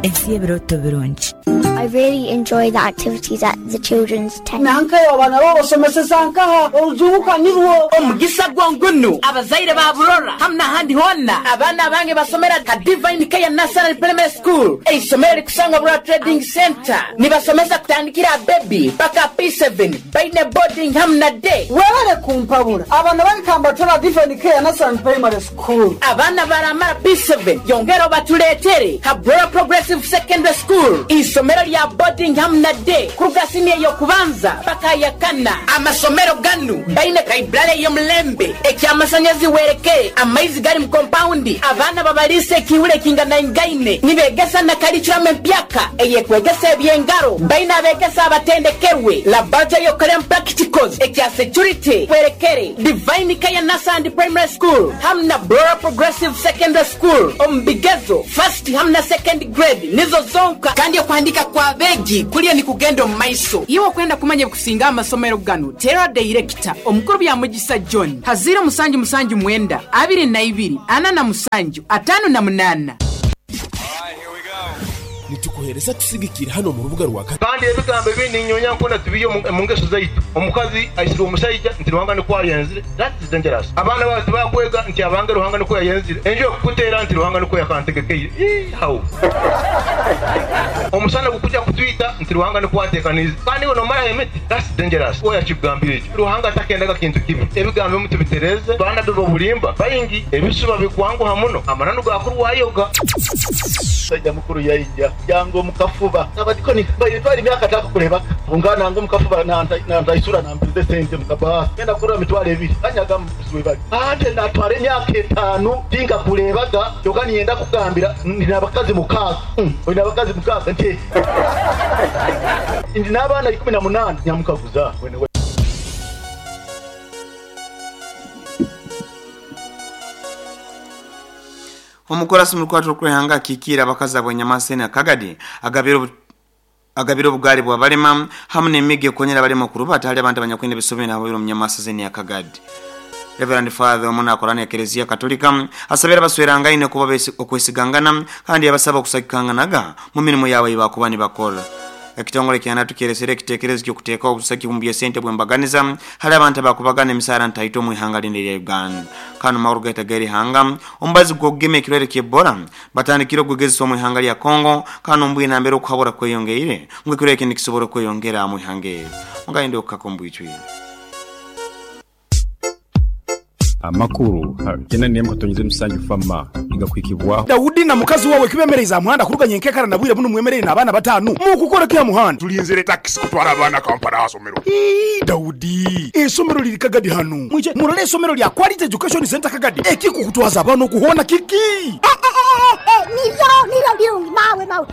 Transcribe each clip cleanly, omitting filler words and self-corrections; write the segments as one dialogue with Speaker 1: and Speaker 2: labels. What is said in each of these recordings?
Speaker 1: Ensi y'ebirooto birungi.
Speaker 2: I really enjoy the activities at the children's tent.
Speaker 3: Nankayo abaana bo obasomeseza nkaha? Orujungu ka nirwo.
Speaker 4: Omugisa gwo ngunu abazaire ba Burora hamu n'ahandi hoona, abaana abange basomera ha Divine Care Nursery and Primary School, eisomero erikusangwa Burora Trading Centre. Nibasomesa kutandikira aha baby paka aha P7, baine boarding hamu na day.
Speaker 3: Webale kumpabura, abaana bange kambatware aha Divine Care Nursery and Primary School.
Speaker 4: Abaana baramara P7 yongera obatureetere ha Burora Progressive Secondary School, eisomero rya boarding hamu na day kuruga siniya ey'okubanza paka aha yakana. Amasomero ganu gaine library ey'omulembe, eky'amasanyazi werekere, amaizi gari mu kompawundi, abaana babariisa ekiihuro ekinganaingaine, nibegesa na curriculum empyaka eyekwegesa eby'engaro, baine abegesa abatendekerwe, laboratory ey'okukoreramu practicals, ekya security werekere, Divine Care Nursery and Primary School hamu na Burora Progressive Secondary School omu bigezo first hamu na second grade nizo zonka kandi okuhandika kw'abeegi kuriyo nikugenda omu maiso. Iwe okwenda kumanya ebikusinga aha masomero ganu, teera Dayirekita Omukuru Byamugisa John ha ziiro musanju musanju mwenda, abiri na ibiri, ana na musanju, ataano na munaana.
Speaker 5: Nitukuheereza tusigikire hanu omu rubuga rwa.
Speaker 6: Kandi ebigambo ebindi ninyonya nkona tubiihe omu ngeso zaitu. Omukazi aisirwe omusaija nti Ruhanga nikwo ayenzire, that is dangerous. Abaana baawe tibakwega nti abange Ruhanga nikwo yayenzire. Enju ekukuteera nti Ruhanga nikwo yakantegekeire. Ii how? Omusana gukuja kutwita nti Ruhanga nikwo atekaniize. Kandi iwe nomaraho emiti, that's dangerous. Oya akikugambire ekyo. Ruhanga takendaga kintu kibi. Ebigambo ebimu tubitereeze. Baanabbi b'obulimba baingi, ebisuba bikwanguha muno, amananu gakurwayoga.
Speaker 7: Omusaija mukuru yaija yanga omu kafuba. Abadikoni baire twara emyaka atakukurebaga. Kwonka nanga omu kafuba nantaisura nampiza esente omu kabaasa. Ngenda kukurora mitwaro ebiri kanyaga webare. Ante natwara emyaka etaanu tinkakurebaga kyoka niinyenda kukugambira ndi n'abakazi mukaaga. Oine abakazi mukaaga? Nti ndi n'abaana 18. Nyamukaguza wena.
Speaker 8: Omukorasi omu rukwata rw'okwehanga akikiire abakazi ab'Enyamaseni Akagadi agabire agabire obugaali bw'abalema hamu n'emigo ekukonyera abalema okurubata hali abantu abanyakwine ebisobe n'ababaire omu Nyamasa Zeni Akagadi. Reverend Father omu nakora n'Ekereziya Katolika asabire abaswerangaine kuba okwesigangana kandi yabasaba okusagikanganaga mu mirimo yabo ei bakuba nibakora. Ekitongole kya NATU kyeresere ekitekerezo ky'okuteekaho obusagiki omu by'esente obw'embaganiza hali abantu abakubagana emisaara ntaito omu ihanga linu erya Uganda. Kanu makuru gaitu ag'erihanga, omubazi gw'okugema ekirwaire ky'Ebola batandikire okugwegezesa omu ihanga lya Congo kandi omu bwire nambere okuhabura kweyongeire ngu ekirwaire kinu nikisobora okweyongera omu ihanga eri. Mugayende okukaka omu bwijwire.
Speaker 9: Amakuru ha kyenda n'emu katonyeza emusanju Fama nigakuhikibwaho.
Speaker 5: Daudi na mukazi wawe kibemereize aha muhanda kuruga nyenkekara na bwire bunu mwemereire n'abaana bataanu mukukora ki aha muhanda?
Speaker 10: Tulinzire takisi kutwara abaana Kampala aha somero.
Speaker 5: Ii, Daudi, eisomero liri Kagadi hanu. Mwije murole eisomero lya Quality Education Centre Kagadi. Ekikukutwaza abaana oku hoona kiki?
Speaker 11: Niryo, niryo birungi, mawe, mawe.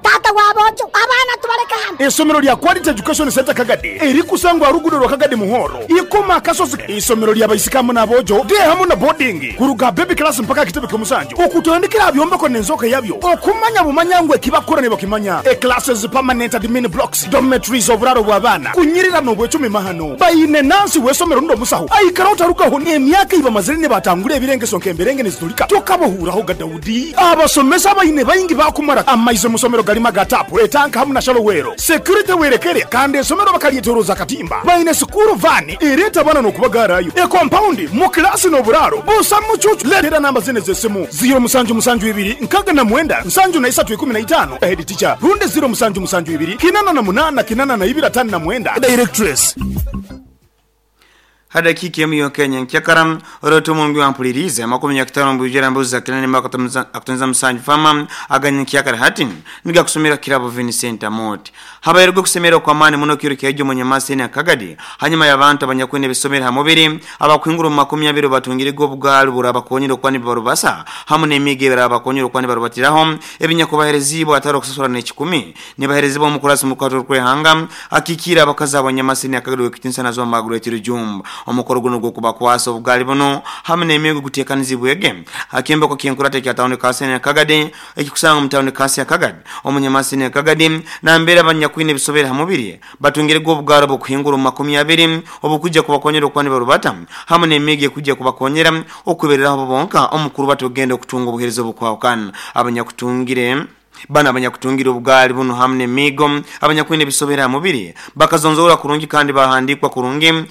Speaker 11: Taata w'aboojo, abaana tubaleke hanu.
Speaker 5: Eisomero lya Quality Education Centre Kagadi erikusangwa aha ruguudo rwa Kagadi Muhoro, Ikoma Akasozi. Eisomero lya baisiki hamu n'aboojo, day hamu na boarding, kuruga aha baby class mpaka aha kitebe ky'omusanju, okutandikira aha byombeko n'enzooka yabyo, okumanya bumanya ngu ekibakukora nibakimanya. E Classes, permanent admin blocks, dormitories, oburaaro bw'abaana, kunyirira n'obwecumi mahano. Baine nansi w'eisomero rundi omusaho aikara otarugaho n'emyaka ei bamazire nibatangura ebirengeso nk'emberenge nizitulika tokabahuurahoga Daudi. Abasomesa abaine baingi baakumara amaizi omu somero garimu aga taapu, etanka hamu na shalowero. Security werekere kandi esomero bakaryetoroza akatimba. Baine sikuuru vaani ereeta abaana n'okubagaarayo. Ekompaundi, mu kilaasi n'oburaaro busa mucuucu. Leetera namba zinu ez'esimu, ziiro musanju musanju ibiri nkaga na mwenda nsanju na isatu ikumi na itaano, Head teacher, rundi ziiro musanju musanju ibiri kinana na munaana kinana na ibiri atano na mwenda, Directress.
Speaker 8: Ha dakiika emu yonka enyenkyakara, orote omungi wampuliriize amakumi nyakitano omu bwijwire ambuzi za kinana emu akatonyeza musanju fama aga nyenkyakara hati nigakusomera Kirabo Vincent Amooti. Habairege okusemererwa okw'amaani muno kiro kyaija omu Nyamasa enu ya Kagadi hanyuma y'abantu abanyakwine ebisomere ha mubiri abakuhingura omu makumi abiri obubatungirege obugaali oburabakonyera okuba nibarubasa hamu n'emiigo ebirabakonyera okuba nibarubatiraho ebinyakubahereziibwe hatali okusasura n'ekikumi Nibaherezibwa omukurasi omu rukwata orw'ihanga akikiire abakazi ab'Onyamasini Akagari w'ekitinisa Nazwa Margaret Rujumba. Omukoro gunu ogw'okubakwasa obugaali bunu hamu n'emigo guteekanizibwege ha kyombeko ky'enkurata ekya tawuni kanso ya Kagadi ekikusangwa omu tawuni kanso ya Kagadi omu Nyamasini ya Kagadi nambere abanyakwine ebisobere ha mubiri batungirege obugaali obw'okuhingura omu makumi abiri obukwija kubakonyera okuba nibarubata hamu n'emigo ekwija kubakonyera okwebereraho bo bonka omu kurubata okugenda okutunga obuheereza obukwahukana. Abanyakutungire. Bano abanyakutungira obugaali buno hamu n'emiigo abanyakwine ebisobera ha mubiri bakazonzora kurungi kandi bahandikwa kurungi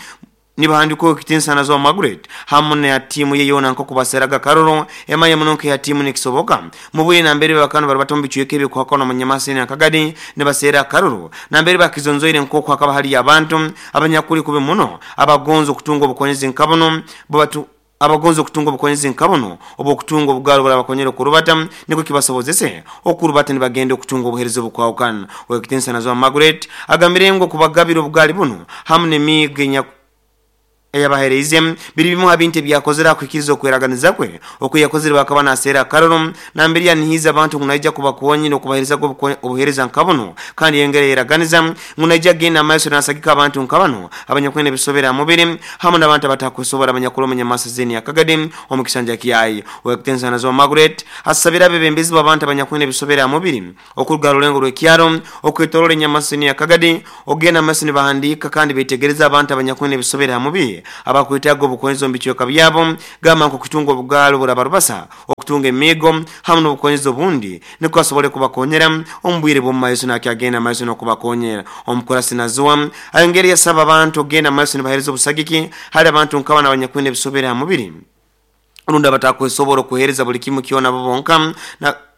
Speaker 8: nibahandikwa ekitiinisa nazo Margaret hamu na tiimu ye yoona nk'okubaseraga karoro emanya muno nke ya tiimu nikisoboka mubwire nambere bakano bari batombi chweke ebikuhakana munyamasini akagadi nibasera karoro nambere bakizonzoire nk'oku hakaba hali abantu abanyakuli kubi muno abagonza okutunga obukonyezi nkabuno batu abagonza okutunga obukonyezi nkabuno obwokutunga obugalo burabakonyera okurubata niko kibasobozese okurubata nibagenda okutunga obuhereza obukwawukana. Owekitiinisa nazo Margaret agambire ngu okubagabira obugali buno hamu n'emiigo eyabahereize biri bimu ha bintu ebyakozere akuhikiriza okweraganiza kwe okuyakozere bakaba naseera akaroro nambere yanihiiza abantu ngu naija kubakonyera okubahereza obuhereza nkabuno kandi yongera yeraganiza ngu naija kugenda amaiso nasagika abantu nkabano abanyakwine ebisobera ha mubiri hamu n'abantu abatakusobora abanyakuli omu nyamasa zeni akagadi omu kisanja kyayi. Owekitiinisa nazo Margaret asabira abebembezi b'abantu abanyakwine ebisobera ha mubiri okuruga ha rulengo rw'ekyaro okwetoroora enyamasa zeni akagadi okugenda amaiso nibahandiika kandi betegereza abantu abanyakwine ebisobera ha mubiri abakwetaaga obukonyezi omu bicweka byabo gamba nk'okutunga obugaali oburabarubasa okutunga emiigo hamu n'obukonyezi obundi niko asobole kubakonyera omu bwire bw'omu maiso nakyagenda amaiso n'okubakonyera. Omukurasi nazoa ayongere yasaba abantu okugenda amaiso nibahereza obusagiki hali abantu nk'abana abanyakwine ebisobera ha mubiri rundi abatakwesobora okuhereza buli kimu kyona bo bonka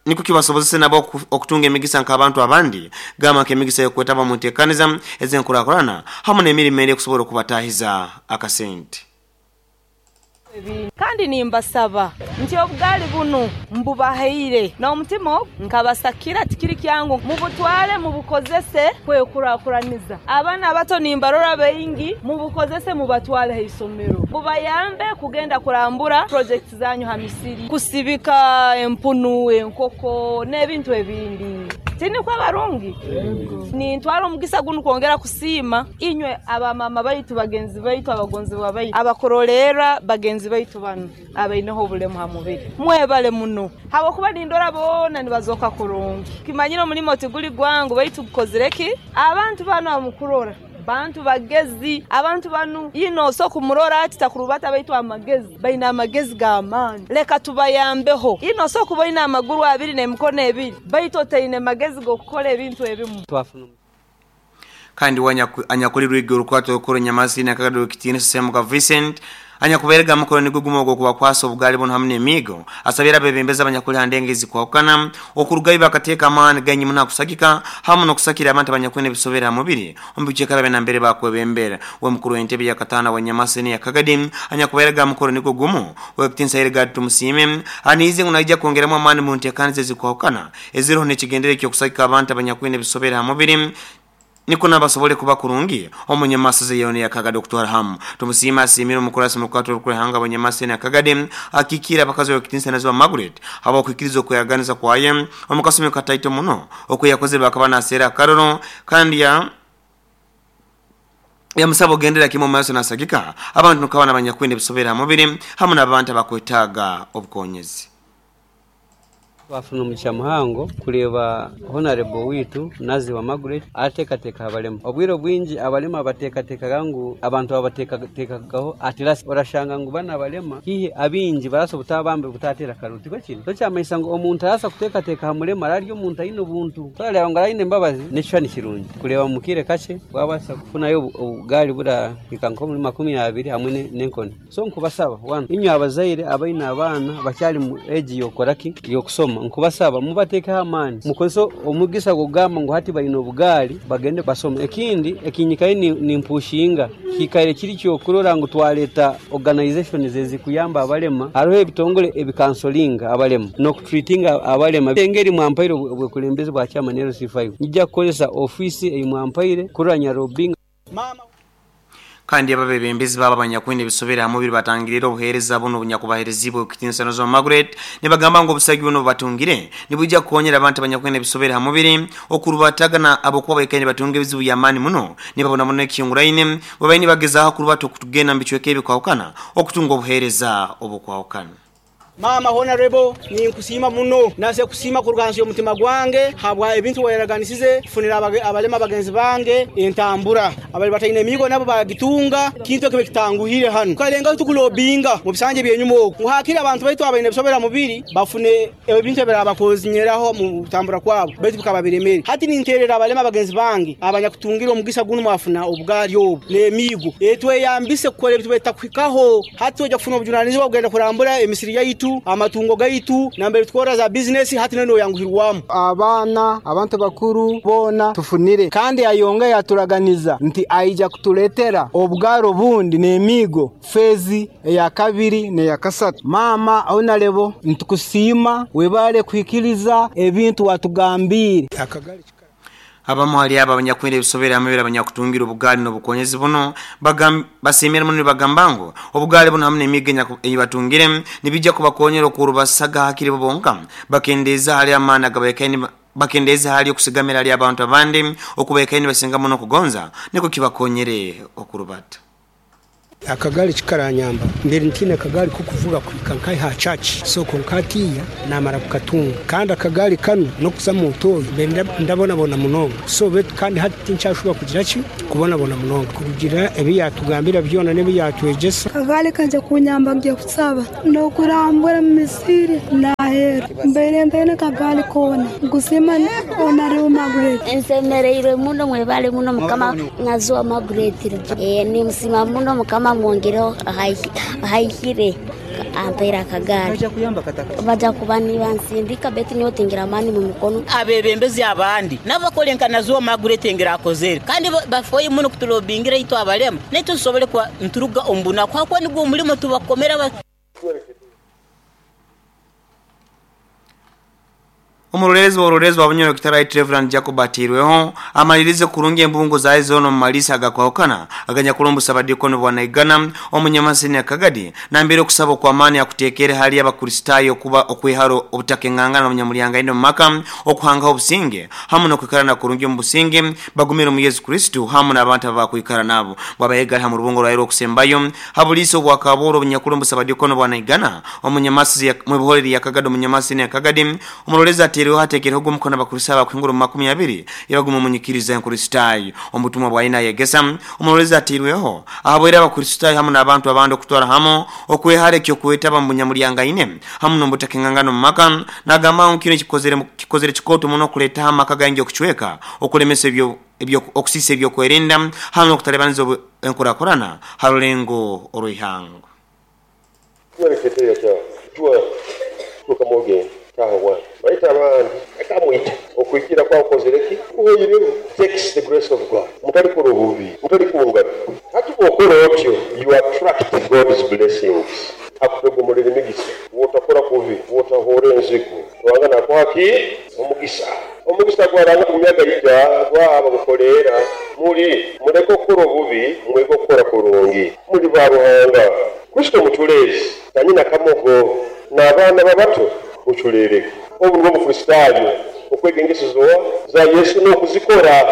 Speaker 8: niko kibasobozese nabo okutunga emigisa nk'abantu abandi gamba nk'emigisa y'okwetaba mu nteekaniza ez'enkurakurana hamu n'emirimo endi ekusobora okubatahiza akasente.
Speaker 1: Kandi nimbasaba nti obugaali bunu mbubahaire n'omutima ogu nkabasakira, tikiri kyangu, mubutwale mubukozese kwekurakuraniza. Abaana abato nimbarora baingi, mubukozese mubatwale ha isomero, bubayambe kugenda kurambura projekiti zanyu ha misiri, kusibika empunu, enkoko n'ebintu ebindi. Tinikwo abarungi? Nintwara omugisa gunu kwongera kusiima inywe abamama baitu, bagenzi baitu, abagonzibwa baitu, abakurolerra bagenzi baitu banu abaineho obulemu ha mubiri. Mwebale muno habwokuba nindora boona nibazoka kurungi. Kimanyire omulimo tiguli gwangu baitu gukozire ki? Abantu banu abamukurora bantu bagezi, abantu banu ino so kumurora ati takurubata baitu amagezi, baine amagezi g'amaani. Leka tubayambeho. Ino so kuba oine amaguru abiri n'emikono ebiri baitu otaine magezi g'okukora ebintu ebimu.
Speaker 8: Kandi we anyakuli rwigi orukwato orukuru Nyamasini akagadi owekitiinisa Semuka Vincent anyakubairege ha mukoro nigwo gumu ogw'okubakwasa obugaali bunu hamu n'emiigo asabire abebembezi abanyakuli ha ndengo ezikwahukana okurugayo bakateeka amaani gaingi muno ha kusagika hamu n'okusakira abantu abanyakwine ebisobere ha mubiri omu bicweka byabe nambere bakwebembera. We mukuru w'entebe yakataano wa Nyamasini ya Kagadi anyakubairege ha mukoro nigwo gumu owekitiinisa Hilgard Tumusiime aniize ngu naija kwongeramu amaani mu nteekaniza ezikwahukana eziroho n'ekigendererwa eky'okusagika abantu abanyakwine ebisobere ha mubiri nikwo nabo basobole kuba kurungi omu nyamasaza yoona eya Kagadi okutwara hamu. Tumusiime asiimire omukurasi murukwatwa orukwehanga Abanyamaseni Akagadi akikiire abakazi owekitiinisa Naziwa Margaret habw'okwikiriza okweraganiza kwaye omu kasumi kataito muno okuyakozire bakaba naseera akaroro kandi ya yamusaba ogendera kimu omu maiso nasagika abantu nkabana abanyakwine ebisobere ha mubiri hamu n'abantu abakwetaaga obukonyezi.
Speaker 12: Twafuna omugisha muhango kureeba Honarebo waitu Naziwa Margaret arateekateeka aha barema. Obwire obwingi abarema bateekateekaga ngu abantu babateekateekagaho at last. Orashanga ngu banu abarema haihi abaingi barabaasa obutabamba butateera karuru, tikwo kiri? So kyamanyisa ngu omuntu arabaasa kuteekateeka aha murema araba ari omuntu aine obuntu. Twareeba ngu araba aine embabazi n'ekishushani kirungi kureeba omu kaire kakye waabaasa kufunayo obugaari burahika nk'omuri 20 hamwe n'enkoni. So nkubasaba one inywe abazaire abaine abaana bakyali mu age yokukora ki? Yokusoma, nkubasaba mubatekeho amaani mukozese omugisa gwokugamba ngu hati baine obugaari bagende basome. Ekindi ekinyikaire nimpushinga kikaire kiri kyokurora ngu twareta organizations ezikuyamba abalema, haroho ebitongore ebikansolinga abalema nokutreatinga abalema. Engeri mwampaire obwekulembezi bwa chairman LC5 nyija kukozesa office eyi mwampaire kurora nyarobinga.
Speaker 8: Kandi abo abebembezi baabo abanyakwine ebisobere ha mubiri batangiriire obuheereza bunu obunyakubahereziibwe Owekitiinisa Nozoa Margaret nibagamba ngu obusagi bunu obubatungire nibwija kukonyera abantu abanyakwine ebisobere ha mubiri okurubataga na habwokuba baikaire nibatunga ebizibu by'amaani muno nibabonabona ekihinguraine bwebaire nibagezaaho kurubata okugenda mu bicweka ebikwahukana okutunga obuheereza obukwahukana.
Speaker 13: Maama Honorable, ninkusiima muno. Nase kusiima kuruga hansi y'omutima gwange habwa ebintu wayaraganisize kufunira abalema bagenzi bange entambura. Abali bataine emigo nabo bagitunga, kintu ekibe kitanguhire hanu. Tukalengaho tukulobinga mu bisanje byenyuma oku. Muhakire abantu baitu abaine bisobera mubiri bafune ebintu ebirabakozinyeraho mu kutambura kwabo, baitu bikaba biremere. Hati ninterera abalema bagenzi bange abanyakutungira omugisa gunu mwafuna obugaali obu n'emigo. Etweyambise kukora ebintu bitakuhikaho. Hati ojja kufuna obujunanizibwa kugenda kurambura emisiri yaitu, amatungo gaitu, nambere tukora za business, hati neno yanguhirwamu.
Speaker 14: Abaana, abantu bakuru boona tufunire, kandi ayonga yaturaganiza nti aija kutuletera obugaro bundi n'emigo fezi eya kabiri n'eya kasatu. Maama Honorable, nitukusiima webale kuhikiriza ebintu watugambire.
Speaker 8: Abamu hali aba abanyakwenda ebisobera hamwe abanyakutungira obugaali n'obukonyezi buno basimira muno nibagamba ngu obugaali buno hamwe n'emigo eyibatungire nibijja kubakonyera okurubasaga hakiri bo bonka bakendeeza hali amaani agabaikaine bakendeeza hali okusigamira hali abantu abandi okubaikaine basinga muno okugonza niko kibakonyere okurubata.
Speaker 15: Akagari kikaranyamba mbere ntine akagari ko kuvuga kwika nkai ha church so konkatiya namara kukatunga kandi akagari kano no kuza mu ntoyi mbere ndabona bona munonga so bet kandi hati ncyashobora kugira ki kubona bona munonga kugira ebi yatugambira byona nebi yatwegesa.
Speaker 16: Akagari kanje kunyamba ngiye kusaba no kurambura misiri nahera mbere ndene akagari kona gusima onari Margaret
Speaker 2: ensemereire muno mwebale muno mukama nazuwa Margaret ni musima muno mukama mwongero haihire ampera akagari baja kuba nibansindika beti nyotingira mani mu mukono
Speaker 4: abebembezi abandi nabakolenkana zuwa Margaret ngira akozere kandi bafoye muno kutulobingira itu abalema netu tusobole kwa nturuga ombuna kwa kwa nigwo mulimo tubakomera.
Speaker 8: Omurorezi wa ororezi wa Bunyoro Kitara Reverend Jacob Atirweho amalirize kurungi embungo za zono mumalisa agakwahukana aganyakulombusa abadikoni bwa Naigana omunyamasini akagadi nambere okusaba kwa amani akutekere hali y'abakristayo kuba okwiharo obutakengangana n'omunyamulyanga ino maka okuhanga obusinge hamwe n'okwikara kurungi mu businge bagumire mu Yesu Kristo hamwe n'abantu abakwikara nabo bwabayegala ha mu rubungo rwairo okusembayo habuliso bwakaboro obunyakulombusa abadikoni bwa Naigana omunyamasi mu buhoreri yakagadi omunyamasini akagadi omurorezi Atirweho hatekereho gumukono abakurisa bakwingura mu 20 yabaguma munyikiriza enkristayo omutumwa bwa ina yegesa omurorezi Atirweho ahabwera abakristayo hamwe n'abantu abandi okutwara hamo okwehare kyo kwetaba mu bunyamulyanga ine hamwe n'obutakengangano mu maka nagamba nkino kikozere kikoto muno kuleta amaka gangi okuchweka okulemesa ebyo okusisa ebyo kwerinda hamwe okutalebaniza enkurakurana harulengo oruihango
Speaker 6: Baita abantu akamwita okwikira kwa okozereki oyireho takes the grace of God mutali kurububi mutali kuungana hati bwokora otyo you attract God's blessings akutogomolera emigisa wotakora kubi wotahora enzigu wangana kwaki omugisa gwaranga kumyaga ija gwaba gukolera muli muleko okukora obubi mwego okukora kurungi muli ba Ruhanga Kristo muculezi tanyina kamogo n'abaana babato uculere obu nibwo mukristayo okwegengesezo za Yesu n'okuzikora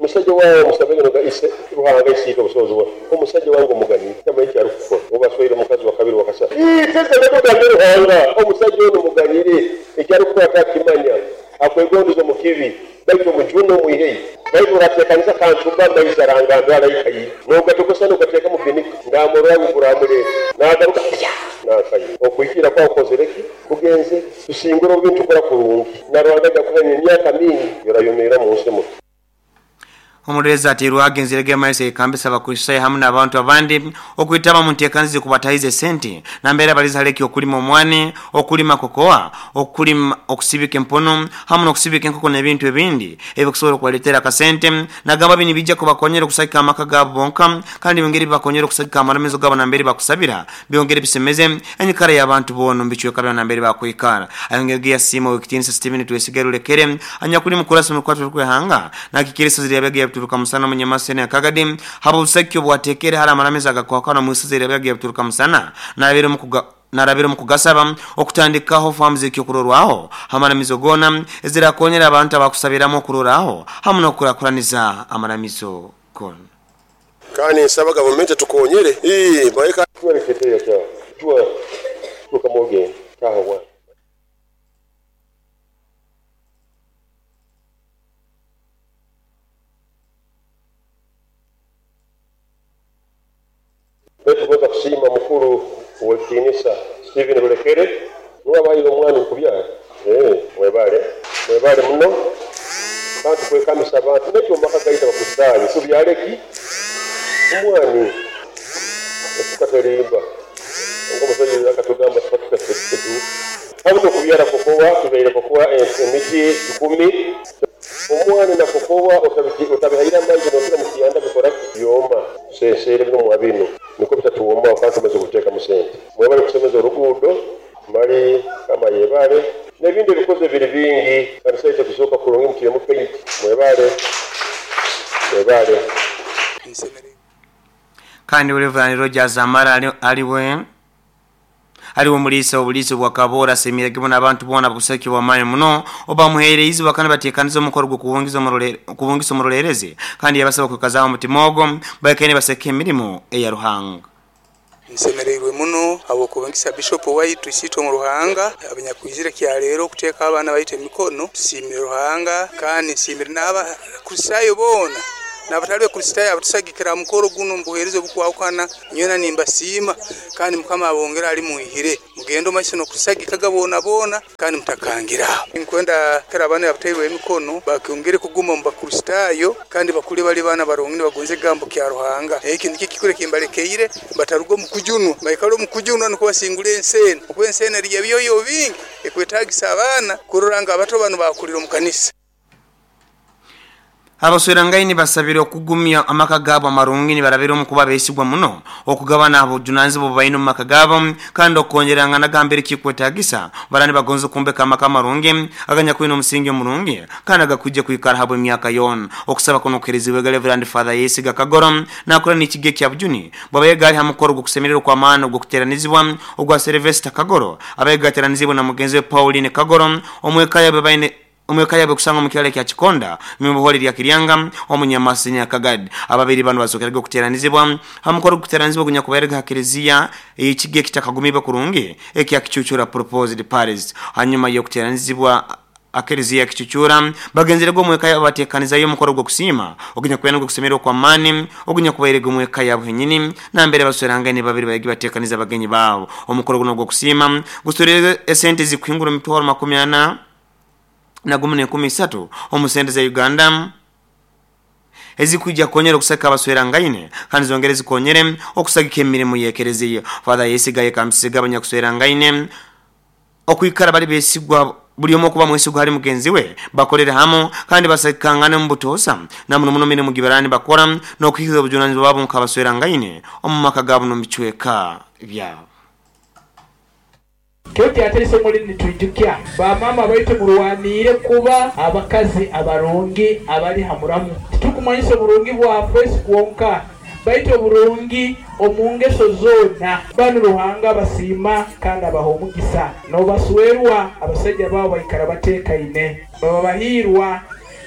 Speaker 6: musajja wawe musabege nga ise Ruhanga isiika obusobozi bwe omusajja wange omuganyire tamanyi kyali kukora obaswaire omukazi wa kabiri wakasatu teze netugambe Ruhanga omusajja ono muganyire ekyali kukora takimanya akwegondeza omu kibi baitu omujune omwihei baitu orateekaniza kantumba amaizi arangandwa alaikayi n'ogatokosa n'ogateeka mu binika ngamurora guramureta nagaruka nakayi okwikira kwa okozereki kugenze tusingura obintu tukora kurungi na Rwanda gakuhanya emyaka mingi yorayomera mu nsi muto.
Speaker 8: Omureza Atirweho agenzerege maise ekambisa abakristaayo hamwe n'abantu abandi okwitaba mu nteekanizi kubatahize sente nambere abaliza haleki okulima omwani, okulima kokoa, okulima okusibika empono hamwe n'okusibika enkoko n'ebintu ebindi ebikusobola okubaletera akasente nagamba bini bijja kubakonyera okusagika amaka gaabo bonka kandi byongere bibakonyera okusagika amaramizo gaabo nambere bakusabira byongere bisemeze enyikara y'abantu boona omu bicweka byona nambere bakwikara. Ayongere yasiima owekitiinisa Stephen Twesigere Rulekere anyakuli mukurasa mukwatwa kwehanga nakikiriso zirabyaga turuka musana munyamasene akagadi habo busakyo bwatekere hala amaramiza agakwakana musize rabyaga turuka musana narabiro mukugasaba okutandikaho farms ekyokurorwaho amaramizo gona ezirakonyera abantu abakusabiramo okuroraho hamwe n'okurakuraniza amaramizo gona.
Speaker 6: Kandi nsaba gavumenti tukonyere baika twereketeya kya tuwa tukamoge Taha wange. Baitu kubanza kusiima mukuru ow'ekitiinisa Stephen Rulekere nuwe abahaire omwani kubyara. Mwebale, mwebale muno kandi tukwekamisa abantu n'ekyo omu maka gaitu Abakristaayo tubyale ki? Omwani. Efuka terimba. Nk'omusaija akatugamba tuba tuka hamu n'okubyara kokowa, tubaire kokowa emiti 10,000. Omwani na kokowa otabihaire amaizi nokira mu kyanda bikora ki? Byoma. Tuseeseere bino mwa binu nikwo bitatuwomaho kandi tumaze kuteekamu sente. Mwebale kusemeza oruguudo mali kama yebale n'ebindi ebikoze biri bingi kandi sente kuzooka kurungi mutiremu paint. Mwebale, mwebale.
Speaker 8: Kandi Reverend Rogers Amara aliwe omuliisa obuliisa bwa Kaboora asemerege bona abantu bona busaki bwa maani muno obamuheereza bakana bateekaniza omukoro gw'okubungisa omurolerezi kandi yabasaba kwekazaho omutima ogwo baikaine baseka emirimu eya Ruhanga.
Speaker 17: Nsemereirwe muno habw'okubungisa Bishop waitu isiitwe mu Ruhanga abanyakwizire kyaleero okuteeka abaana baitu emikono. Tusiimire Ruhanga kandi nsiimire n'Abakristaayo boona n'abatali Bakristaayo abatusagikira aha mukoro guno omu buheereza obukwahukana. Nyowe nimbasiima kandi Mukama abongere ali mwihire. Mugende omu maiso n'okusagikaga boona boona kandi mutakangira aho. Nkwenda kera abaana abatairwe emikono bakyongere kuguma omu Bakristaayo kandi bakule bali baana barungi nibagonza ekigambo kya Ruhanga. Eki nikyo kikuru ekimbarekeire, bataruga omu kujunwa, baikale omu kujunwa nukwo basingule ensi enu. Okuba ensi enu eriyo ebyoyo bingi ekwetagisa abaana kurora ngu abato banu bakulira omu kanisa.
Speaker 8: Abaswerangaini basabire okugumya amaka gaabo amarungi nibarabira omu kuba beesigwa muno okugabana obujunanizibwa obu baine omu maka gaabo kandi okwongerangana gambere kikwetagisa barani bagonza okumbeka amaka amarungi aganyakwine omusingi omurungi kandi agakwija kwikara habwe emyaka yoona. Okusaba kuno kuheerezibwe Reverend Father Yesiga Kagoro nakora n'ekigo ekya Bujuni bwabaye ha mukoro gw'okusemererwa kw'amaani ogw'okuteranizibwa ogwa Sylvester Kagoro abaye gateranizibwe na mugenzi we Pauline Kagoro omweka yabe baine omweka yabe kusanga mu kyalo kya Kikonda mu lya Kiryanga omunyamasi Nyakagad. Ababiri bano bazokeraga okuteranizibwa hamukoro okuteranizibwa gunyakubairega ha kereziya ekige kitakagumiba kurungi ekya Kichuchura Proposed Paris. Hanyuma y'okuteranizibwa akereziya Kichuchura bagenzerega omweka yabo batekanizayo omukoro gw'okusiima ogunyakubaire gw'okusemererwa kwa maani ogunyakubairega omweka yabo henyini nambere baswerangane babiri bayigi batekaniza abagenyi baabo. Omukoro guno gw'okusiima gusurire esente zikuhingura emitwaro 40 na 13 omu sente za Uganda ezikujja kukonyera okusaka abaswerangaine kandi zongere zikonyere okusagika emirimu y'ekereziya. Father Yesiga yekambisiga abanyakuswerangaine okwikara bali besigwa buli omu okuba mwesigwa hali mugenzi we bakolere hamu kandi basakangane mu butosa na muno muno mirimu gibarani bakora n'okuhikiza obujunanizibwa bwabo nk'abaswerangaine omu maka gaabo n'omu bicweka byabo.
Speaker 18: Kyoki ate eisomo lino nitwijukya bamaama baitu murwaniire kuba abakazi abarungi abali ha muramu. Titukumanyisa oburungi bwa face kwonka, baitu oburungi omu ngeso zoona. Banu Ruhanga abasiima kandi abaha omugisa. N'obaswerwa abasaija baabo baikara bateekaine, baba bahiirwa,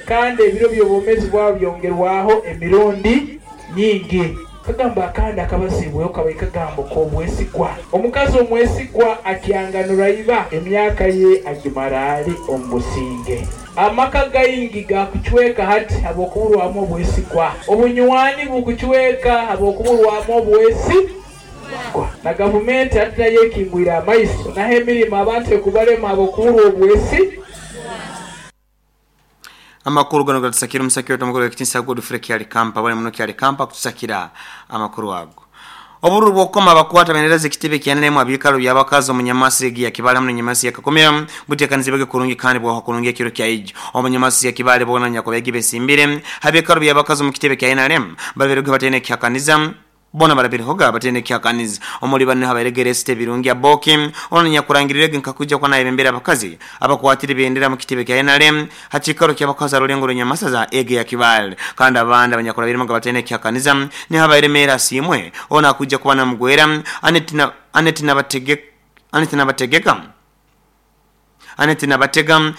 Speaker 18: kandi ebiro by'obwomeezi bwabo byongerwaho emirundi nyingi. Kagamba akandi akabazibweho kabaire kagambo k'obwesigwa. Omukazi omwesigwa akyanganura iba, emyaka ye agimara ali omu businge. Amaka gaingi gakucweka hati habw'okuburwamu obwesigwa. Obunywani bukucweka habw'okuburwamu obwesigwa. Na gavumenti hati nayo ekingwire amaiso, naho emirimo abantu ekubalema habw'okuburwa obwesigwa.
Speaker 8: Amakuru gano gatusakira omusakira otomukuru w'ekitinisa Godfrey Kyali Kampa bali muno Kyali Kampa kutusakira amakuru ago. Obururu bw'okukoma abakwata bendera z'ekitebe kya NRM abikalo by'abakazi omunyamasi egi ya Kibale hamu n'enyamasi ya Kakumira buteekanizibwege kurungi kandi bwaho kurungi ekiro kya ijo. Omunyamasi ya Kibale bona nyakubegi besimbire abikalo by'abakazi omu kitebe kya NRM babiruge batene kyakaniza bona barabirihoga batene kyakaniza omuli bano habaregere site birungi aboki ono nyakurangirire nkakuja kwa naye bembera abakazi abakwatire bendera mu kitebe kya NRM hakikaro ky'abakazi arulengo runyamasa za ege ya Kibale kandi abandi abanyakurabirimo batene kyakaniza ni habaire mera simwe ona akuja kuba na mugwera Anet nabategeka Anet nabatega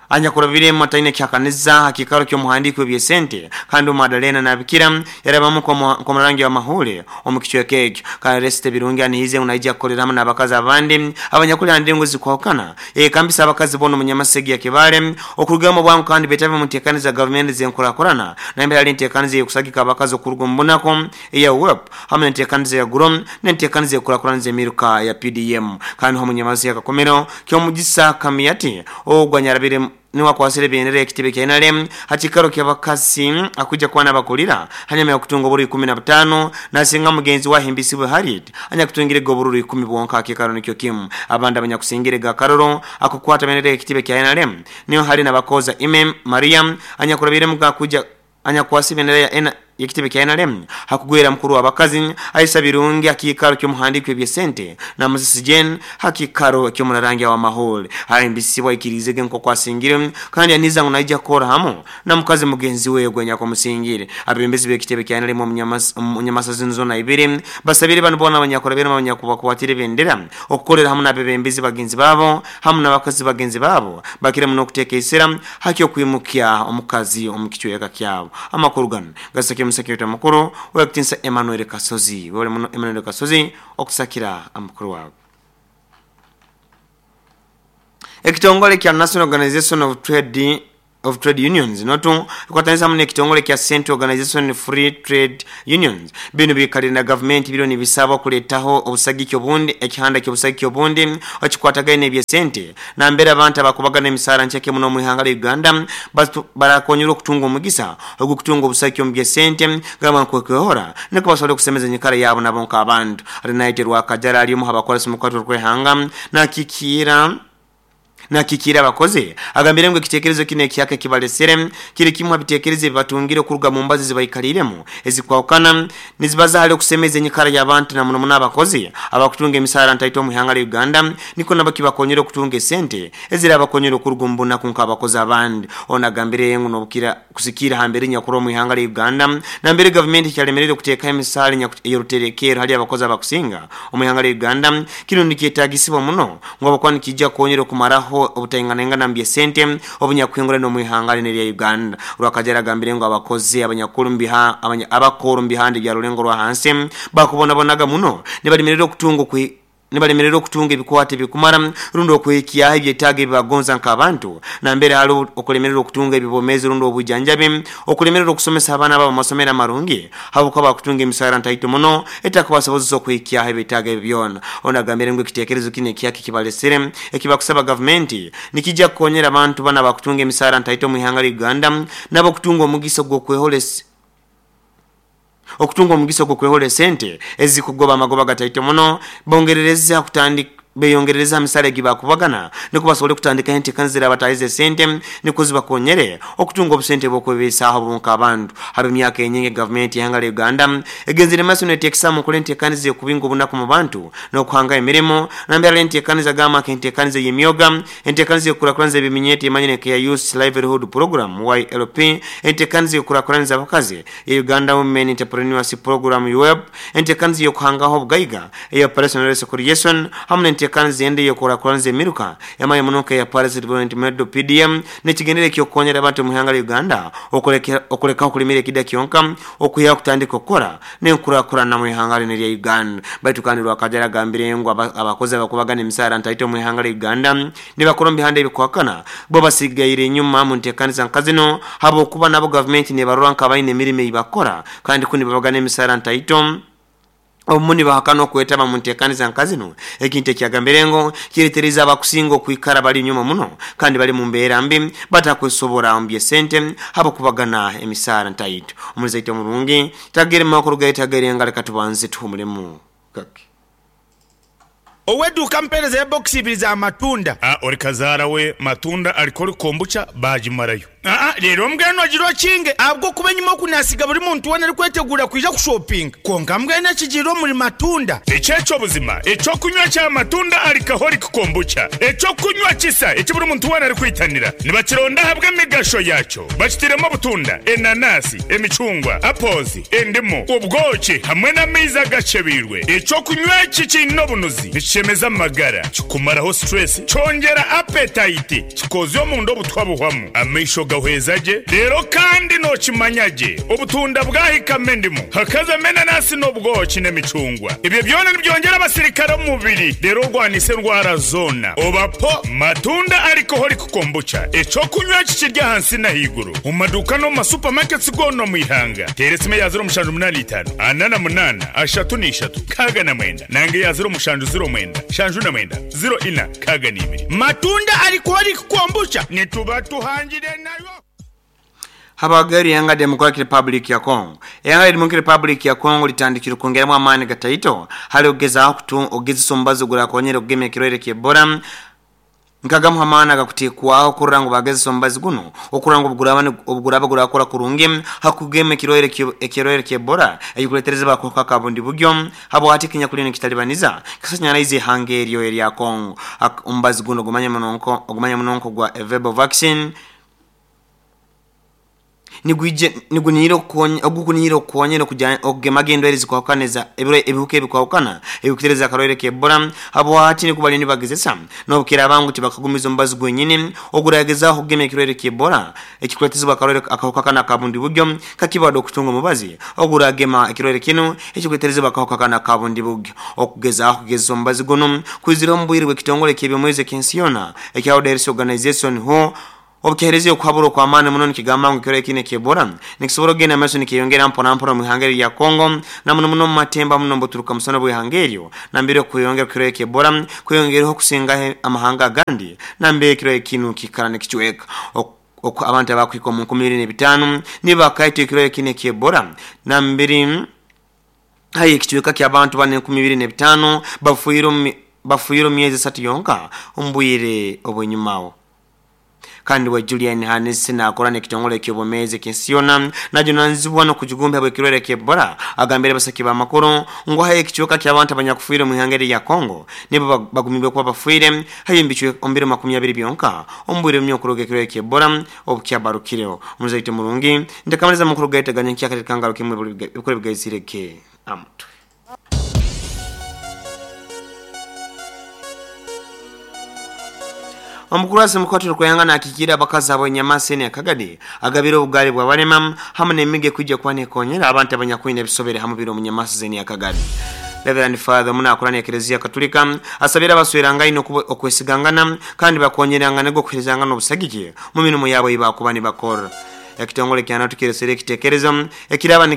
Speaker 8: Anyakurabiremu ataine kyakaniza ha kiikaro ky'omuhandiiki w'ebyesente kandi Madalena Nabikira yarabamu nk'omurangi w'amahule omu kicweka ekyo. Kandi Resite Birungi anihize ngu naija kukolera hamu n'abakazi abandi abanyakuli ha ndengo zikwahukana eyekambisa abakazi boona omu Nyamasegi ya Kibaale okurugamu obwangu kandi betabe omu nteekaniza gavumenti z'enkurakurana nambere hali enteekaniza ey'okusagika abakazi okuruga omu bunaku eya WEP hamu n'enteekaniza ya GROW n'enteekaniza ey'okukurakuraniza emiruka ya PDM. Kandi nuho Munyamasegi Akakomero Kyomugisa Kamiyati ogwo anyarabire niwe akwasire ebendera y'ekitebe kya NRM ha kiikaro ky'abakazi akwija kuba nabakulira hanyuma y'okutunga obururu 15 nasinga mugenzi we Ahimbisibwe Harriet anyakutungirege obururu ikumi bwonka ha kiikaro nikyo kimu. Abandi abanyakusingirege akaruru akukwata bendera y'ekitebe kya NRM niho hali Nabakooza Ime Maria anyakurabiremu akwija anyakwasa ebendera ya y'ekitebe kya NRM hakugwera mukuru w'abakazi Aisa Birungi ha kiikaro ky'omuhandiiki w'ebyesente na Musisi Jane ha kiikaro ky'omurarangi w'amahule. Ahimbisibwe aikiriizege nk'oku asingire kandi yaniza ngu naija kukora hamu na mukazi mugenzi we ogwo anyakumusingire. Abebembezi b'ekitebe kya NRM omu Nyamasa zinu zoona ibiri basabire banu boona abanyakurabiremu abanyakubakwatire ebendera okukolera hamu n'abebembezi bagenzi baabo hamu n'abakazi bagenzi baabo bakire muno okuteeka esira ha ky'okwimukya omukazi omu kicweka kyabo. Amakuru ganu gasakire omusakira waitu amakuru ow'ekitinisa Emmanuel Kasozi. Webale muno Emmanuel Kasozi okusakira amakuru ago. Ekitongole kya National Organization of Trade of Trade Unions, NOTU, ekwatanisa hamu n'ekitongole kya Central Organization Free Trade Unions binu biikalire na gavumenti biriyo nibisaba okuleetaho obusagiki obundi ekihanda ky'obusagiki obundi ekikwatagaine n'ebyesente nambere abantu abakubagana emisaara nkyeke muno omu ihanga lya Uganda barakonyerwa okutunga omugisa ogw'okutunga obusagiki omu by'esente gamba nkokwehora nukwo basobole okusemeza enyikara yaabo nabo nk'abantu. Arinaitwe Rwakajara ari omu h'abakoresa omu kwatwa kw'ihanga nakikiira Nakikiire abakozi, agambire ngu ekitekerezo kinu ekihaka ekibalesere kiri kimu ha bitekerezo ebibatungire okuruga mu mbazo ezibaikaliiremu ezikwahukana nizibaza hali okusemeza enyikara y'abantu na muno muno abakozi abakutunga emisaara ntaito omu ihanga lya Uganda nikwo nabo kibakonyere okutunga esente ezirabakonyera okuruga omu bunaku nk'abakozi abandi. Ono agambire ngu nobukira kusikiira ha mbeera enyakuroho omu ihanga lya Uganda nambere gavumenti ekyalemereire okuteekaho emisaara ey'oruterekerro hali abakozi abakusinga omu ihanga lya Uganda. Kinu nikyetagisibwa muno ngu habwokuba nikiija kukonyera okumaraho obutainganaingana mu by'esente obunyakuhinguraine omu ihanga linu erya Uganda. Rwakajara agambire ngu abakozi abanyakuru mu biha abakooru mu bihanda ebya rulengo rwa hansi bakubonabonaga muno nibalemererwa okutunga Nibalemererwa okutunga ebikwato ebikumara rundi okuhikyaho ebyetaago ebi bagonza nk'abantu. Nambere hali okulemererwa okutunga eby'obwomeezi rundi obwijanjabi, okulemererwa okusomesa abaana baabo omu masomero amarungi habwokuba bakutunga emisaara ntaito muno etakubasobozesa okuhikyaho ebyetaago ebi byona. Onu agambire ngu ekitekerezo kinu ekihaka ekibalesere ekibakusaba gavumenti nikija kukonyera abantu banu abakutunga emisaara ntaito omu ihanga lya Uganda nabo kutunga omugisa ogw'okwehola Okutunga omugisa ogw'okwehola esente ezikugoba amagoba gataito muno, bongerereza kutandika beyongerereza ha misaara egi baakubagana nukwo basobole kutandikaho enteekaniza ezirabataahiza esente nukwo zibakonyere okutunga obusente bw'okwebeisaaho bo nk'abantu. Habw'emyaka enyingi gavumenti y'ihanga lya Uganda egenzire mumaiso neteekesa mu nkora enteekaniza ey'okubinga obunaku mu bantu n'okuhangaho emirimo nambere hali enteekaniza gamba nk'enteekaniza ey'emyoga, Enteekaniza y'okukurakuraniza eby'eminyeeto emanyire nka eya Youth Livelihood Program, YLP, Enteekaniza y'okukurakuraniza abakazi eya Uganda Women Entrepreneurship Program, UWEP, Enteekaniza ey'okuhangaho obugaiga eya Operation Wealth Creation hamu n'enteekaniza endi ey'okukurakuraniza emiruka emanyire muno nka eya Parish Development Model, PDM, n'ekigendererwa eky'okukonyera abantu omu ihanga lya Uganda okulekaho okulimira ekida kyonka okwihaho kutandika okukora n'enkurakurana mu ihanga linu erya Uganda. Baitu kandi Rwakajara agambire ngu abakozi abakubagana emisaara ntaito omu ihanga lya Uganda nibakora omu bihanda ebikuhakana bo basigaire enyuma mu ntekaniza nka zinu habwokuba nabo gavumenti nebarora nkabaine emirimo eyibakora kandi kunu nibabagana emisaara ntaito. Obumu nibahakana okwetaba mu ntekaniza nka zinu, ekintu ekyagambire ngu kireteriize abakusinga okwikara bali nyuma muno kandi bali mu mbeera mbi batakwesobora omu by'esente habw'okubagana emisaara ntaito. Omulizi aita omurungi tagerema okurugayo tagerenga leka tubanze tuhumulemu kake.
Speaker 19: Ow'eduuka ampeereza ya bokisi ibiri za matunda.
Speaker 10: A Ori kazaara we matunda alikora kombucha baagimarayo.
Speaker 19: Aa reero mbwenu ogira okinge ahabw'okuba enyima oku naasiga buri muntu weena arikweteguura kwija kushopinga. Kwonka mbwenu ekigiire omuri matunda.
Speaker 10: Eki eky'obuzima, eky'okunywa kya matunda alcoholic kombucha, eky'okunywa kisa eki buri muntu weena arikwitanira. Nibakironda ahabw'emigasho yaakyo. Bakitairemu obutunda, enanasi, emicungwa, apples, endimu, obwoki hamwe n'amaizi agakyebeirwe. Eky'okunywa eki kiine obunuzi, nikishemeza amagara, kikumaraho stress, kyongyera appetite, kikozya omunda obutwa buhwamu, amaisho gahweza gye, reero kandi nookimanya gye obutunda bwahikamu endimu, hakazamu enanasi n'obwoki n'emicungwa. Ebyo byona nibyongyera abasirikare omu mubiri reero orwanise endwara zoona. Oba po Matunda Alcoholic Kombucha, eky'okunywa eki kiri ahansi n'ahaiguru omu maduuka n'omu ma supermarkets goona omu ihanga. Teera esimu eya 0785 48 33 69 nanga eya 0709 79 04 62.
Speaker 19: Matunda Alcoholic Kombucha nituba tuhangire nayo.
Speaker 8: Habwagairu ihanga Democratic Republic ya Congo. Ihanga lya Democratic Republic ya Congo litandikire okwongeramu amaani gataito hali okugezaaho okugezesa omubazi ogurakonyera okugema ekirwaire ky'Ebola. Nkagamu h'amaani agakuteekwaho kurora ngu bagezesa omubazi gunu okurora ngu obuguraaba gurakora kurungi ha kugema ekirwaire ky'Ebola ekikuletereza akahuka aka bundibugyo habwati ekinyakuliyo nikitalibaniza kisanyaraize ihanga eryo erya Congo. Omubazi gunu ogumanya muno nk'ogwa Ervebo vaccine niguniira okukonyera okugemaga endwaire ezikwahukana ebihuka ebikwahukana ebikutereza akarwaire k'Ebola habwati nikwo baliyo nibagezesa n'obukiraaba ngu tibakagumiza omubazi gwenyini oguragezaho okugema ekirwaire ky'Ebola ekikuletezebwa akarwaire akahuka kanu aka bundibugyo kakibado okutunga omubazi oguragema ekirwaire kinu ekikuleterezebwa akahuka kanu aka bundibugyo. Okugezaho kugezesa omubazi gunu kwizire omu bwire bw'ekitongole ky'ebyomwezi eky'ensi yoona ekya World Health Organization WHO obukihereza okuhabura okw'amaani muno nikigamba ngu ekirwaire kinu eky'Ebola nikisobora okugenda mumaiso nikeyongera mpora mpora omu ihanga eryo erya Congo na muno muno omu matemba muno omubuturuka musana bw'ihanga eryo nambere okweyongera kw'ekirwaire ky'Ebola kweyongereho okusingaho amahanga agandi nambere ekirwaire kinu kikara nikicweka abantu abakuhika omu 2005 nibo bakaitwa ekirwaire kinu eky'Ebola nambere hayo ekicweka ky'abantu bana 2005 bafiire omu myezi esatu yonka omu bwire obw'enyumaho. Kandi we Julian Hannes naakora n'ekitongole eky'obwomeezi eky'ensi yoona najunaanizibwa n'okujugumba habw'ekirwaire ky'Ebola agambire abasaki b'amakuru ngu hayo ekicweka ky'abantu abanyakufiire omu ihanga erya Congo nibo bagumibwe kuba bafiire hayo omu biro 20 byonka omu bwire bumwe okuruga ekirwaire ky'Ebola obukyabarukireho. Omuzaito murungi ntakamaliza amakuru gaitu aganya nkyakare kangaruke imwe ebikuru ebigaizirege amutwe. Omukuru wa Semukoto Rukuyanga nakikiira abakazi abo Nyamasi ene Kagadi agabire obugaali bw'abalema hamu n'emigo ekwija kuba nekonyera abantu abanyakwine ebisobere hamu biro omu Nyamasi zene ya Kagadi. Reverend Father omu nakora n'Eklezia Katulika asabire abaswerangaine okwesigangana kandi bakonyerangana okuherezangana obusagiki mu mirimo yabo ei bakuba nibakora. Ekitongole kya NATO kiresere ekitekerezo ekiraba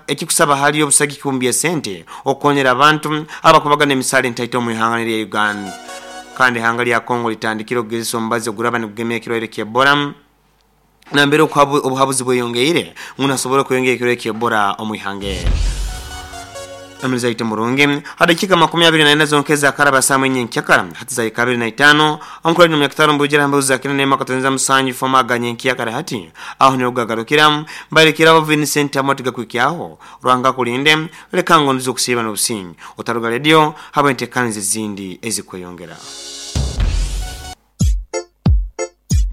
Speaker 8: ekikusaba hali obusagiki omu by'esente okukonyera abantu abakubagana emisaala entaito omu ihanga lya Uganda. Kandi ihanga lya Congo litandikire okugezesa omubazi oguraba nigugema ekirwaire ky'Ebola nambere obuhabuzi bweyongeire ngu nasobora okweyongera ekirwaire ky'Ebola omu ihanga eryo. Emizaito murungi hadakika 24 zonka ezakaraba saa mwenye nkyakara hati za 25 omukuru ni myaka mbujira mbuza kina nema katonza musanyu foma aganye nkyakara hati aho ni ogagarukira mbarekera abo Vincent Amotiga kwikyaho Rwanga kulinde leka ngo ndizo kusiba n'obusinyi otaruga radio habo entekanze zindi ezikweyongera.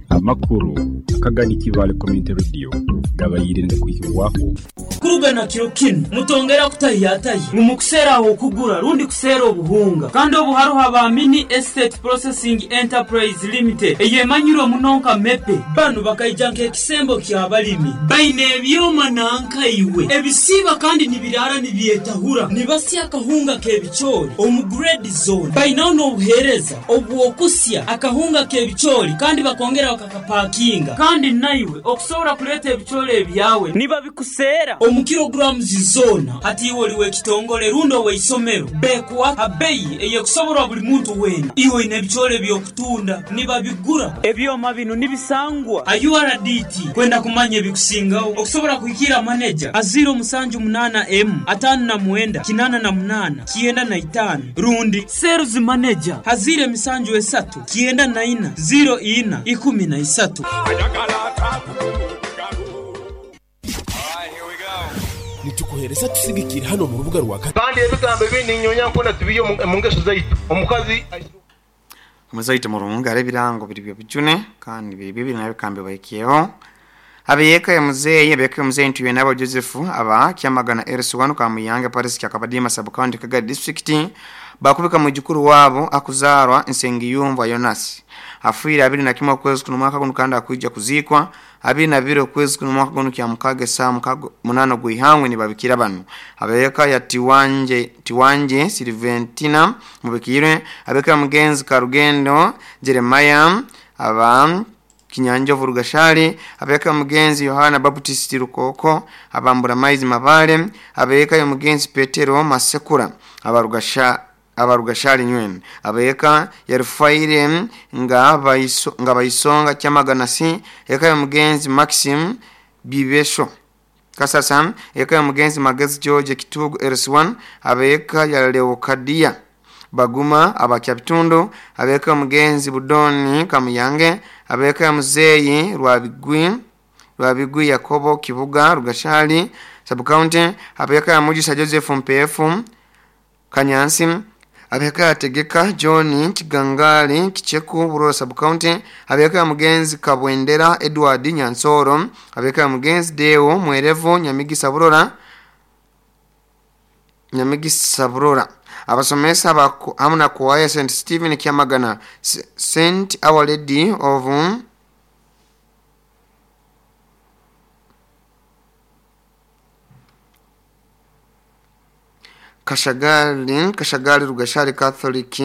Speaker 9: Amakuru akagani Kibale Community Radio gabayire ndakwikirwaho
Speaker 20: Kurugana kiro kinu mutongera kutahiyatahi mumukuseraho okugura rundi kusera obuhunga kandi obuharuha ba Mini Estate Processing Enterprise Limited eyemanyirwe munonka mepe banu bakaija nk'ekisembo ky'abalimi baine ebyoma nankaiwe ebisiba kandi nibirara nibyetahura nibasya akahunga k'ebicoori omu grade zone bainaho n'obuheereza obw'okusya akahunga k'ebicoori kandi bakongera bakakapakinga kandi naiwe okusobora kuleeta ebicoori ebyawe nibabikusera omu kilograms zona hati iwe oli w'ekitongole rundi ow'eisomero bekuwa abeyi eyekusoborwa buli muntu weena iwe oyine ebicoori eby'okutunda nibabigura ebyoma bino nibisangwa URDT kwenda kumanya ebikusingaho okusobora kuhikira maneja a 078 M 59 88 95 rundi sales manager a 073 94 04 13.
Speaker 21: Nitukuhereza tusigikire hano mu rubuga rwa
Speaker 6: Kandi ebigambo ebindi nyonya nkona tubiyo mu ngeso zaitu omukazi.
Speaker 8: Omuzaite murungi ari ebirango biri byobujune kandi biri bibiri nabyo kambi bahikyeho. Abeyeka ya muzeeyi, abeyeka ya muzeeyi ntuye nabo Joseph aba Kyamagana LC1 Kamuyanga Paris Kyakabadima sub county Kagadi district bakubika mujukuru wabo akuzarwa Nsengiyumva Jonas afuire 21 okwezi kuno mwaka guno kandi akuija kuzikwa 22 okwezi kuno mwaka guno kya mukage saa mukago munano gwihangwe ni babikira bano. Abeyeka ya Tiwanje Silventina mubikirwe, abeka mugenzi Karugendo Jeremiah aba Kinyanjovu Rugashali, abeka mugenzi Yohana Baptist Rukoko abambura maizi mabale, abeka ya mugenzi Petero Masekura abarugashali nywene, abeka ya Rufaire nga baisonga Kyamagana si, eka ya mugenzi Maxim Bibesho Kasasa, eka ya mugenzi Magezi George Kitugu LC1, abeka ya Leokadia Baguma abakyabitundu, abeka mugenzi Budoni Kamuyange, abeka muzeyi Rwabigwi Yakobo Kibuga Rugashali sub county, abeka Mujisa Joseph Mpefu Kanyansi, abeka Tegeka John Kigangali Kicheku Burora sub county, abeka mugenzi Kabwendera Edward Nyansoro, abeka mugenzi Deo Mwerevu Nyamigisa Burora. Abasomesa hamuna kuwaya St. Stephen Kyamagana, St. Our Lady of Kashagali Rugashali Catholic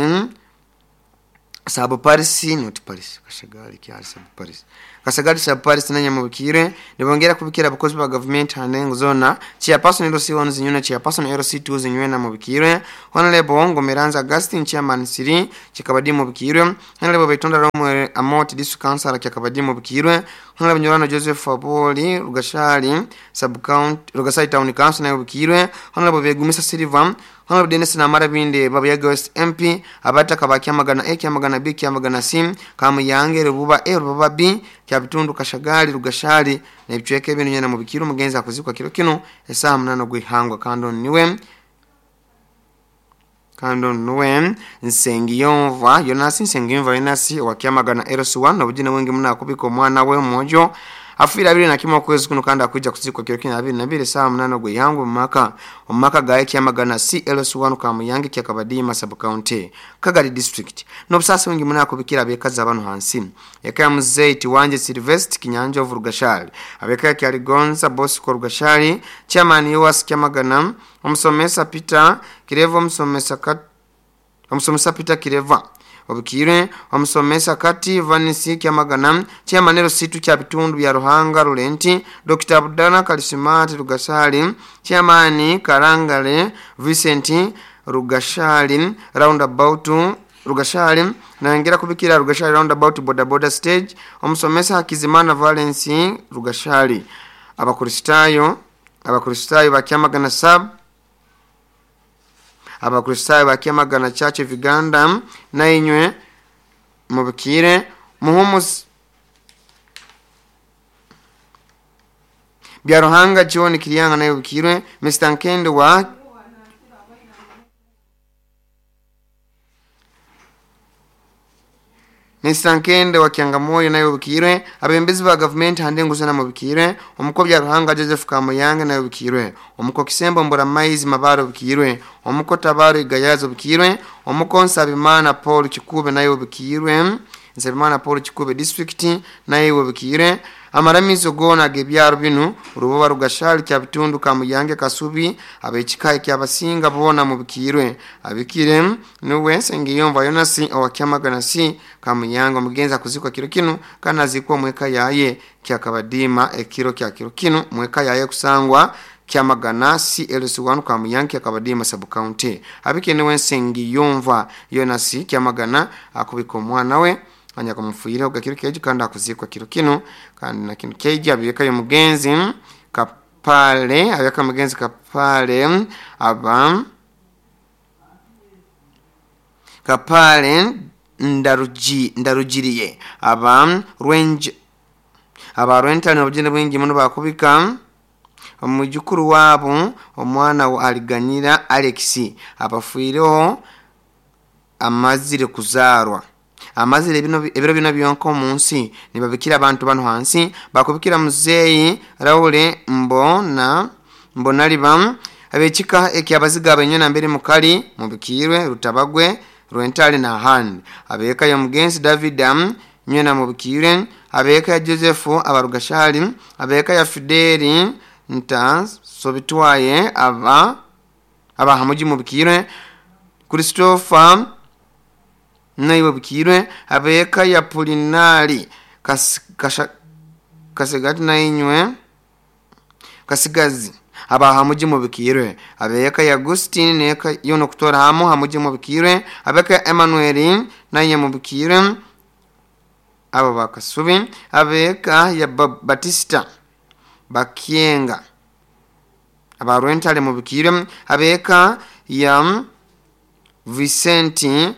Speaker 8: Sub Paris, not Paris, Kashagali kyali Sub Paris, Kashagali Sub Paris nanya mubikire nibongera kubikira abakozi ba government hanengo zona chairperson LC1 zinyuna, chairperson LC2 zinywena mubikire, Honorable Ngomeranza Augustine chairman Siri Chikabadi mubikire, Honorable Betonda Romwe Amoti district councilor Kyakabadi mubikire, Honorable Nyorano Joseph Aboli Rugashali sub county Rugashali town council nayo mubikire, Honorable Begumisa Silva, Honorable Dennis Namara Binde Babuyaga West MP abataka ba Kyamagana A, Kyamagana B, Kyamagana C, Kamuyange Rububa A, Rububa B, Kyabitundu Kashagali Rugashali na ibicweke bintu nyana mubikiro mugenzi akuzikwa kiro kino esaha 8 gwihangwa. Kando niwe Nsengiyumva Jonas, Nsengiyumva Jonas wa Kyamagana LC1 nobujina wengi muna akubika omwana we mwojo afuira 21 okwezi kuno kandi akuija kuzikwa kiro kino 22 saa 8 gwihangwe mumaka gaye Kyamagana C LC1 Kamuyange Kyakabadima sub county Kagadi district. Nobusasi wengi muna akubikira abekaza abantu hansi eka ya muzeyi Tiwanje Silvest Kinyanjovu Rugashali, abeka ya Kyaligonza Bosco Rugashali chairman Yoas Kyamagana, omusomesa Peter Kireva, omusomesa Peter Kireva obukire, omusomesa Kati Vanisi Kyamagana chairman LC2 kya bitundu bya Ruhanga Rulenti, Dr. Abdana Kalisimati Rugashali chairman Karangale Vincent Rugashali roundabout Rugashali naongera kubikira Rugashali roundabout boda boda stage, omusomesa Hakizimana Valence Rugashali. Abakristayo ba Kyamagana sub, Abakristayo ba Kyamagana Church of Uganda na inywe mubikire muhumus bya Ruhanga John Kiriyanga nayo bikirwe, Mr. Nkendo wa Mr. Nkende wa Kiangamoyo nayo bikirwe, abembezi ba government handengo sana mubikirwe, omuko bya Ruhanga Joseph Kamuyange nayo bikirwe, omuko Kisembo Mbura Maizi Mabaro bikirwe, omuko Tabaro Igayazo bikirwe, omuko Nsabimana Paul Kikube nayo bikirwe, Nsabimana Paul Kikube district nayo bikirwe. Amaramizo gona gebyaro binu Rububa Rugashali Kyabitundu Kamuyange Kasubi abekikaye kyabasinga bona mubikirwe, abikire nuwe Nsengiyumva Jonas owa Kyamagana C Kamuyange omugenzi akuzikwa kiro kino kana zikwa mweka yaye Kyakabadima ekiro kya kiro kino mweka yaye kusangwa Kyamagana C LC1 Kamuyange Kyakabadima sub county. Abikire nuwe Nsengiyumva Jonas Kyamagana akubika omwana we anya kumufuyira ogakiro keji kandi akuzikwa kiro kino kandi na kino keji abiyeka yo mugenzi Kapale, abiyeka mugenzi Kapale aba Kapale ndarujiriye aba rwenje aba rwentano obujine bwingi muno bakubika Omwijukuru waabo omwana wa Aliganyira Alex abafiireho amazire kuzaarwa amazire bino ebiro bino byonka omu nsi. Nibabikira abantu bano hansi bakubikira muzeeyi Raule mbona mbonaliba abekika ekyabaziga abenywe mbere mukali mubikirwe Rutabagwe, Rwentale na ahandi. Abeka ya mugenzi David nywena mubikirwe, abeka ya Joseph abarugashali, abeka ya Fideli nta sobitwaye aba abahamuji mubikirwe, Christopher naiwe bukirwe, abeka ya Polinari kasigati nainywe kasigazi abahamuji mubikirwe, abeka ya Agustin neka yono kutora hamu hamuji mubikirwe, abeka ya Emmanuel naye mubikirwe abo bakasubi, abeka ya Batista Bakienga abarwentale mubikirwe, abeka ya Vicente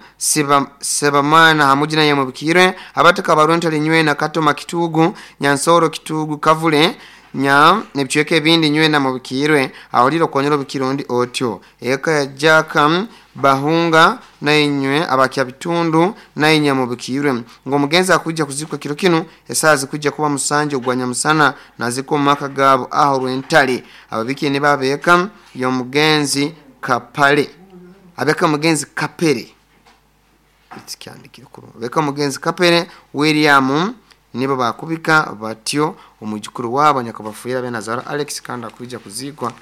Speaker 8: Sebamana hamuji naye mubikirwe, abataka abarwentale nywe na Katoma Kitugu, Nyansoro Kitugu Kavule nya nebichweke ebindi nywe na mubikirwe awulira okonyera obukirundi otyo. Eka ya Jaka Bahunga na inywe abakya bitundu na inya mubikirwe ngo mugenzi akujja kuzikwa kiro kino esazi kujja kuba musanje ogwanya musana naziko maka gabo aho Rwentale. Ababiki ne babeka yo mugenzi Kapale, abeka mugenzi Kapere ikiandikire kuru abeka mugenzi Kapere William nibo bakubika batyo omujukuru wabo nyakabafuira benazara Alex kandi akujja kuzikwa